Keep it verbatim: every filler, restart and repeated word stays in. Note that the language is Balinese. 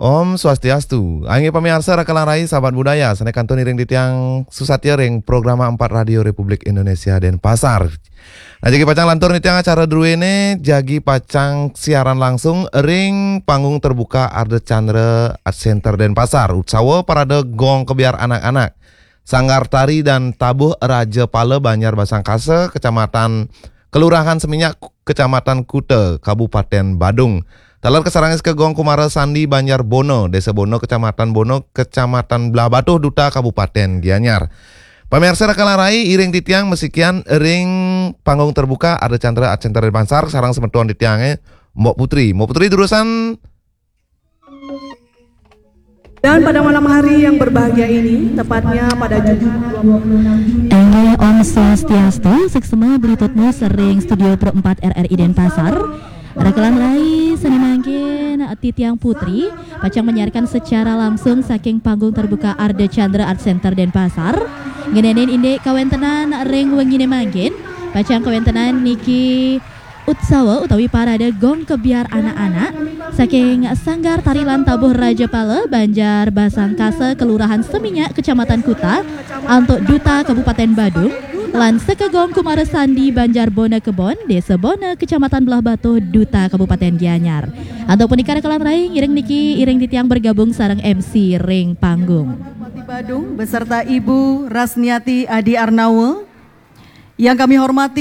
Om Swastiastu. Inggih pamiarsa Raka lan Rai, sahabat budaya, sané kantun iring titiang susatia ring Programa empat Radio Republik Indonesia Denpasar. Nah, jagi pacang lantur titiang acara druéné, jagi pacang siaran langsung ring Panggung Terbuka Ardha Candra Art Center Denpasar. Utsawa Parade Gong Kebyar Anak-anak. Sanggar Tari dan Tabuh Raja Pala Banjar Basangkasa, Kecamatan Kelurahan Seminyak, Kecamatan Kuta, Kabupaten Badung. Taler kasarengin ka Gong Kumara Sandi Banjar Bona, Desa Bona, Kecamatan Bona, Kecamatan Blahbatuh, Duta Kabupaten Gianyar. Pamiarsa Raka lan Rai, iring titiang masikian ring Panggung Terbuka Ardha Candra Art Center Denpasar, sareng semeton titiangé, Mbok Putri. Mbok Putri, durusang. Dan pada malam hari yang berbahagia ini, tepatnya pada Jumat dua puluh enam Juni. Inggih, Om Swastiastu, suksma beli tutmus ring Studio Pro empat R R I Denpasar. Raka lan Rai, sané mangkin titiang Putri pacang menyiarkan secara langsung saking Panggung Terbuka Ardha Candra Art Center Denpasar. Ngenénin indik kawéntenan ring wenginé mangkin, pacang kawéntenan niki utsawa utawi parade Gong Kebyar Anak-anak saking Sanggar Tari lan Tabuh Raja Pala, Banjar Basangkasa, Kelurahan Seminyak, Kecamatan Kuta, antuk Duta Kabupaten Badung, lan seka Gong Kumara Sandi Banjar Bona Kebon, Desa Bona, Kecamatan Blahbatuh, Duta Kabupaten Gianyar. Antuk punika Raka lan Rai, ngiring niki iring titiang bergabung sareng M C ring panggung. Bupati Badung beserta Ibu Rasniati Adi Arnawa. Yang kami hormati